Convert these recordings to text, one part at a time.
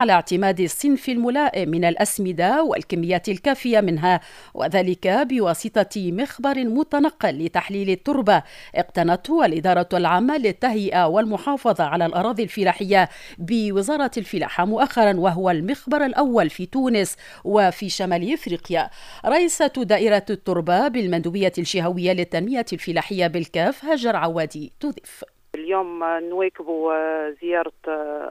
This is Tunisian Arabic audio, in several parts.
على اعتماد الصنف الملائم من الأسمدة والكميات الكافية منها، وذلك بواسطة مخبر متنقل لتحليل التربة اقتنته الإدارة العامة للتهيئة والمحافظة على الأراضي الفلاحية بوزارة الفلاحة مؤخرا، وهو المخبر الأول في تونس وفي شمال إفريقيا. رئيسة دائرة التربة بالمندوبية الجهوية للتنمية الفلاحية بالكاف هاجر عوادي تضيف: اليوم نواكب زيارة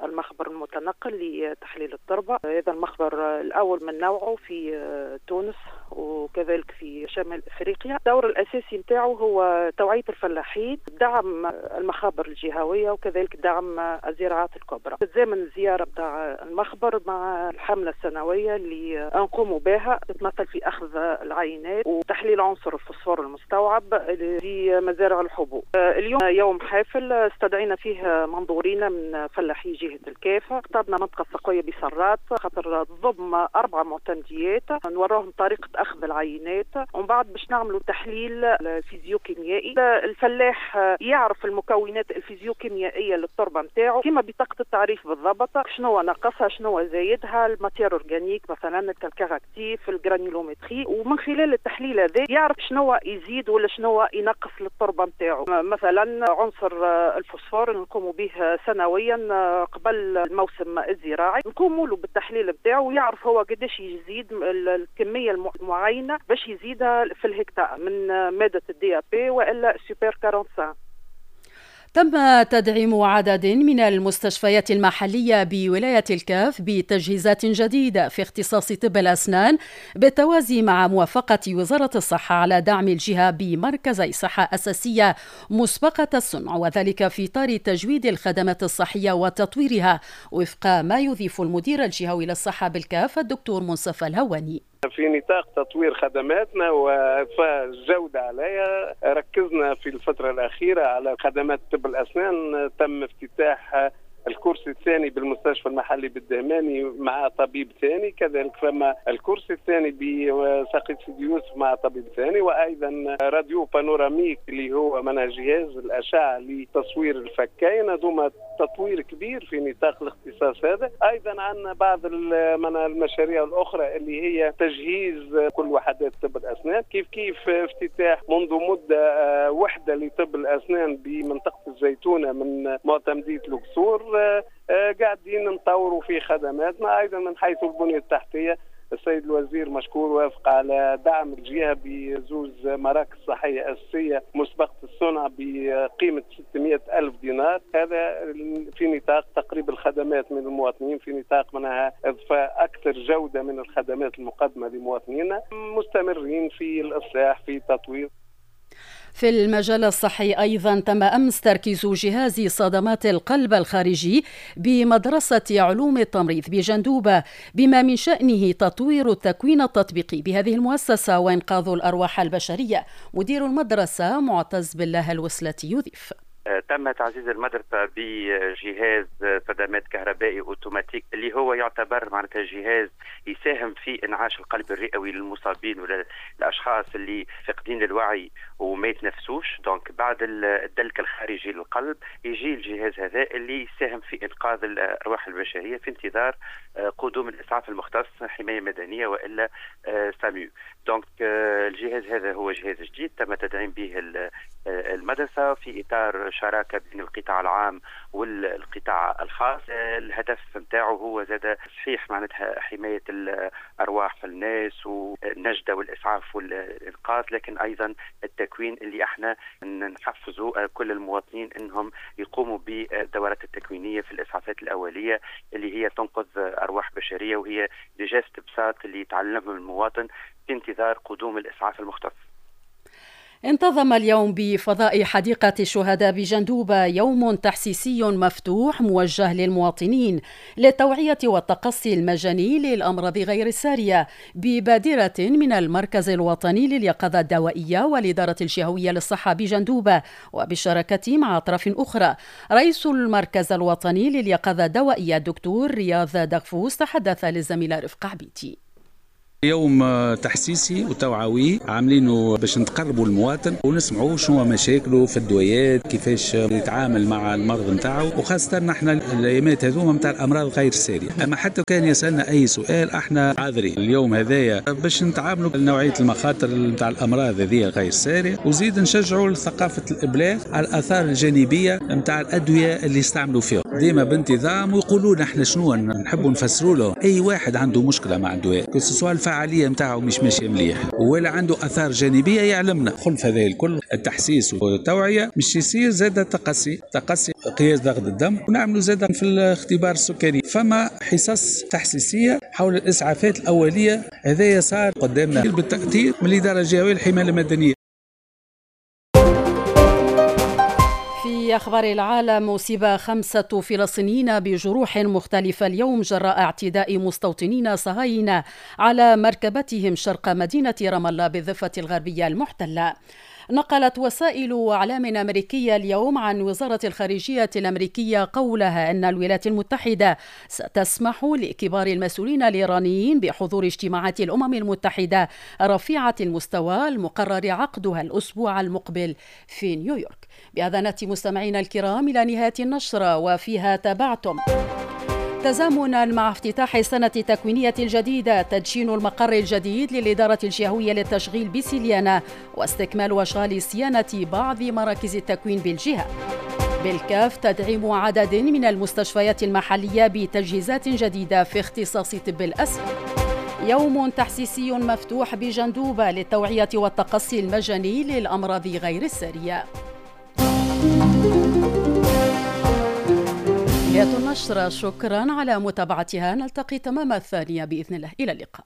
المخبر المتنقل لتحليل التربة. هذا المخبر الأول من نوعه في تونس وكذلك في شمال افريقيا. الدور الاساسي نتاعو هو توعيه الفلاحين، دعم المخابر الجهوية وكذلك دعم الزراعات الكبرى. تتزامن الزيارة نتاع المخبر مع الحملة السنوية اللي نقوم بها، تتمثل في اخذ العينات وتحليل عنصر الفوسفور المستوعب في مزارع الحبوب. اليوم يوم حافل استدعينا فيه منظورين من فلاحي جهة الكاف. اخترنا منطقة سقويه بسرات خاطر تضم 4 معتمديات، نوروهم طريقه اخذ العينات ومن بعد باش نعملوا تحليل الفيزيوكيميائي. الفلاح يعرف المكونات الفيزيوكيميائيه للتربه نتاعو كما بطاقة التعريف بالضبط، شنو ناقصها شنو زايدها، ال matière organique مثلا، ال calcaire actif، ال granulométrie، ومن خلال التحليل هذا يعرف شنو يزيد ولا شنو ينقص للتربه نتاعو. مثلا عنصر الفوسفور نقوم به سنويا قبل الموسم الزراعي، نقوم له بالتحليل نتاعو ويعرف هو قداش يزيد الكمية المعينة باش يزيدها في الهكتار من مادة ال DAP والا سوبر 45. تم تدعيم عدد من المستشفيات المحلية بولاية الكاف بتجهيزات جديدة في اختصاص طب الأسنان، بالتوازي مع موافقة وزارة الصحة على دعم الجهة بمركزي صحة أساسية مسبقة الصنع، وذلك في إطار تجويد الخدمات الصحية وتطويرها، وفق ما يضيف المدير الجهوي للصحة بالكاف الدكتور منصف الهواني. في نطاق تطوير خدماتنا وإضفاء الجودة عليها، ركزنا في الفترة الأخيرة على خدمات طب الأسنان. تم افتتاح الكرسي الثاني بالمستشفى المحلي بالدهماني مع طبيب ثاني، كذلك فما الكرسي الثاني بساقية سيدي يوسف مع طبيب ثاني، وايضا radio panoramique اللي هو من جهاز الاشعة لتصوير الفكين. هذوما تطوير كبير في نطاق الاختصاص هذا. ايضا عندنا بعض من المشاريع الاخرى اللي هي تجهيز كل وحدات طب الاسنان، كيف كيف افتتاح منذ مده وحده لطب الاسنان بمنطقة الزيتونه من معتمديه القصور. قاعدين نطوروا في خدماتنا. ايضا من حيث البنية التحتية، السيد الوزير مشكور وافق على دعم الجهة بزوز مراكز صحية اساسية مسبقة الصنع بقيمة 600 الف دينار. هذا في نطاق تقريب الخدمات من المواطنين، في نطاق منها اضفاء اكثر جوده من الخدمات المقدمة لمواطنينا. مستمرين في الاصلاح في تطوير. في المجال الصحي أيضا، تم أمس تركيز جهاز صدمات القلب الخارجي بمدرسة علوم التمريض بجندوبة، بما من شأنه تطوير التكوين التطبيقي بهذه المؤسسة وإنقاذ الأرواح البشرية. مدير المدرسة معتز بالله الوسلاتي يضيف: تم تعزيز المدرسة بجهاز صدمات كهربائي اوتوماتيك، اللي هو يعتبر معناتها جهاز يساهم في انعاش القلب الرئوي للمصابين ولا الاشخاص اللي فاقدين للوعي وما يتنفسوش. donc بعد الدلك الخارجي للقلب يجي الجهاز هذا اللي يساهم في انقاذ الارواح البشرية في انتظار قدوم الاسعاف المختص، حماية مدنية والا SAMU. donc الجهاز هذا هو جهاز جديد تم تدعيم به المدرسة في اطار شراكة بين القطاع العام والقطاع الخاص. الهدف نتاعو هو زاد صحيح معناتها حماية الارواح الناس والنجده والاسعاف والانقاذ، لكن ايضا التكوين اللي احنا نحفزوا كل المواطنين انهم يقوموا بالدورات التكوينيه في الاسعافات الاولية اللي هي تنقذ ارواح بشريه، وهي des gestes بساط اللي يتعلمهم المواطن في انتظار قدوم الاسعاف المختص. انتظم اليوم بفضاء حديقة الشهداء بجندوبة يوم تحسيسي مفتوح موجه للمواطنين للتوعية والتقصي المجاني للأمراض غير السارية، ببادرة من المركز الوطني لليقظة الدوائية والإدارة الجهوية للصحة بجندوبة وبالشراكة مع أطراف أخرى. رئيس المركز الوطني لليقظة الدوائية الدكتور رياض دغفوس تحدث للزميلة رفقة عبيدي. يوم تحسيسي وتوعوي عاملينه باش نتقربوا المواطن ونسمعوا شنو مشاكله في الدويات، كيفاش يتعامل مع المرض نتاعو، وخاصة نحن الايامات هذوما نتاع الامراض غير السارية. اما حتى كان يسالنا اي سؤال احنا عاذرين. اليوم هذايا باش نتعاملوا نوعية المخاطر نتاع الامراض هذه غير السارية، وزيد نشجعوا ثقافة الابلاغ على الاثار الجانبية نتاع الادوية اللي يستعملوا فيها ديما بانتظام، ويقولوا لنا احنا شنو نحبوا نفسروا له. اي واحد عنده مشكلة مع الدواء، سواء الفعالية نتاعو مش ماشية مليح ولا عنده اثار جانبيه، يعلمنا. خلف هذا الكل التحسيس والتوعية مش يصير زاد تقصي قياس ضغط الدم، ونعملوا زاد في الاختبار السكري. فما حصص تحسيسيه حول الاسعافات الاولية، هذا صار قدامنا بالتاثير من الادارة الجهوية للحماية المدنية. في أخبار العالم، أصيب 5 فلسطينيين بجروح مختلفة اليوم جراء اعتداء مستوطنين صهاينة على مركبتهم شرق مدينة رام الله بالضفة الغربية المحتلة. نقلت وسائل إعلام أمريكية اليوم عن وزارة الخارجية الأمريكية قولها أن الولايات المتحدة ستسمح لكبار المسؤولين الإيرانيين بحضور اجتماعات الأمم المتحدة رفيعة المستوى المقرر عقدها الأسبوع المقبل في نيويورك. بهذا نأتي مستمعينا الكرام إلى نهاية النشرة، وفيها تابعتم: تزامنا مع افتتاح السنة التكوينية الجديدة، تدشين المقر الجديد للإدارة الجهوية للتشغيل بسليانة، واستكمال أشغال صيانة بعض مراكز التكوين بالجهة. بالكاف تدعيم عدد من المستشفيات المحلية بتجهيزات جديدة في اختصاص طب الأسنان. يوم تحسيسي مفتوح بجندوبة للتوعية والتقصي المجاني للأمراض غير السارية. نهاية النشرة، شكرا على متابعتها، نلتقي تمام 2 بإذن الله، إلى اللقاء.